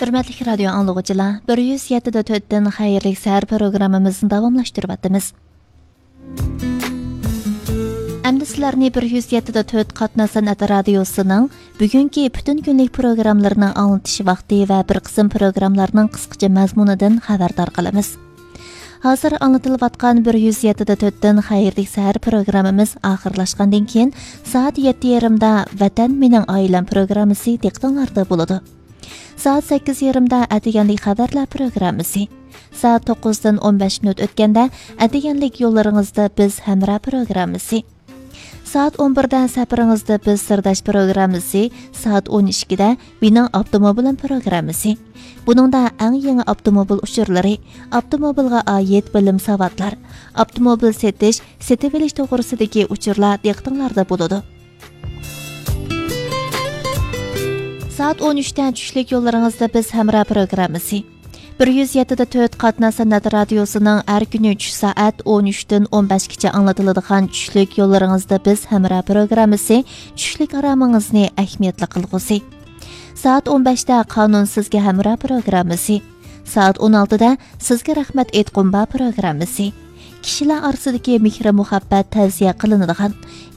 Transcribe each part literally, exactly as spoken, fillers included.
ھۆرمەتلىك رادىيو ئاڭلىغۇچىلار، بىر يۈز يەتتە دە تۆتتىن خەيرلىك سەھەر پروگراممىمىزنى داۋاملاشتۇرۇۋاتىمىز. ئەمدى سىلەرنى بىر يۈز يەتتە دە تۆت قاتناش سەنئەت رادىيوسىنىڭ بۈگۈنكى پۈتۈن كۈنلۈك پروگراممىلىرىنىڭ ئاڭلىتىش ۋاقتى ۋە بىر قىسىم پروگراممىلارنىڭ قىسقىچە مەزمۇنىدىن خەۋەردار قىلىمىز. ھازىر ئاڭلىتىلىۋاتقان بىر يۈز يەتتە دە تۆتتىن خەيرلىك سەھەر پروگراممىمىز ئاخىرلاشقاندىن كېيىن، سائەت يەتتە يېرىمدا ۋەتەن مېنىڭ ئائىلەم پروگراممىسى دىققىتىڭلاردا بولىدۇ. سائەت سەككىز يېرىمدا ئەتىگەنلىك خەۋەرلەر پروگراممىسى. سائەت توققۇزدىن ئون بەش مىنۇت ئۆتكەندە، ئەتىگەنلىك يوللىرىڭىزدا بىز ھەمراھ پروگراممىسى. سائەت ئون بىردە سەپىرىڭىزدە بىز سىرداش پروگراممىسى، سائەت ئون ئىككىدە مېنىڭ ئاپتوموبىلىم پروگراممىسى. بۇنىڭدا ئەڭ يېڭى ئاپتوموبىل ئۇچۇرلىرى، ئاپتوموبىلغا ئائىت بىلىم ساۋاتلار، ئاپتوموبىل سېتىش، سېتىۋېلىش توغرىسىدىكى ئۇچۇرلار دىققىتىڭلاردا بولىدۇ. سائەت ئون ئۈچتە چۈشلۈك يوللىرىڭىزدا بىز ھەمراھ پروگراممىسى. بىر يۈز يەتتە دە تۆت قاتناش سەنئەت رادىيوسىنىڭ ھەر كۈنى چۈش سائەت ئون ئۈچتىن ئون بەشكىچە ئاڭلىتىلىدىغان چۈشلۈك يوللىرىڭىزدا بىز ھەمراھ پروگراممىسى، چۈشلۈك ئارامىڭىزنى ئەھمىيەتلىك قىلغۇسى. سائەت ئون بەشتە قانۇن سىزگە ھەمراھ پروگراممىسى. سائەت ئون ئالتىدە سىزگە رەھمەت ئېيتقۇم بار پروگراممىسى. كىشىلەر ئارىسىدىكى مېھرى مۇھەببەت تەۋسىيە قىلىنىدىغان،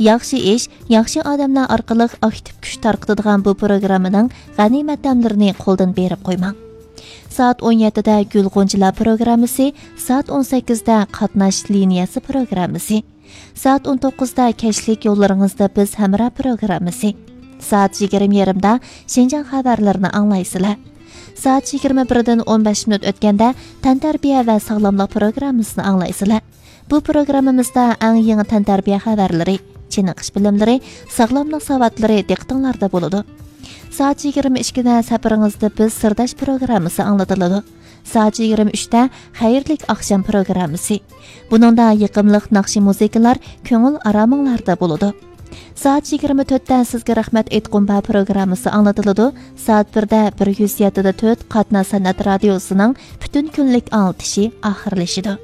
ياخشى ئىش، ياخشى ئادەملەر ئارقىلىق ئاكتىپ كۈچ تارقىتىدىغان بۇ پروگراممىنىڭ غەنىيمەت دەملىرىنى قولدىن بېرىپ قويماڭ. سائەت ئون يەتتىدە گۈل غۇنچىلار پروگراممىسى، سائەت ئون سەككىزدە قاتناش لىنىيەسى پروگراممىسى، سائەت ئون توققۇزدا كەچلىك يوللىرىڭىزدا بىز ھەمراھ پروگراممىسى، سائەت يىگىرمە يېرىمدا شىنجاڭ خەۋەرلىرىنى ئاڭلايسىلەر. سائەت يىگىرمە بىردىن ئون بەش مىنۇت ئۆتكەندە تەنتەربىيە ۋە ساغلاملىق پروگراممىسىنى ئاڭلايسىلەر. بۇ پروگراممىمىزدا ئەڭ يېڭى تەنتەربىيە خەۋەرلىرى، چېنىقىش بىلىملىرى، ساغلاملىق ساۋاتلىرى دىققىتىڭلاردا بولىدۇ. سائەت يىگىرمە ئىككىدە سەپىرىڭىزدە بىز سىرداش پروگراممىسى ئاڭلىتىلىدۇ. سائەت يىگىرمە ئۈچتە خەيرلىك ئاخشام پروگراممىسى. بۇنىڭدا يېقىملىق ناخشا مۇزىكىلار كۆڭۈل ئارامىڭلاردا بولىدۇ. سائەت يىگىرمە تۆتتە سىزگە رەھمەت ئېيتقۇم بار پروگراممىسى ئاڭلىتىلىدۇ. سائەت بىردە بىر يۈز يەتتە دە تۆت قاتناش سەنئەت رادىيوسىنىڭ پۈتۈن كۈنلۈك ئاڭلىتىشى ئاخىرلىشىدۇ.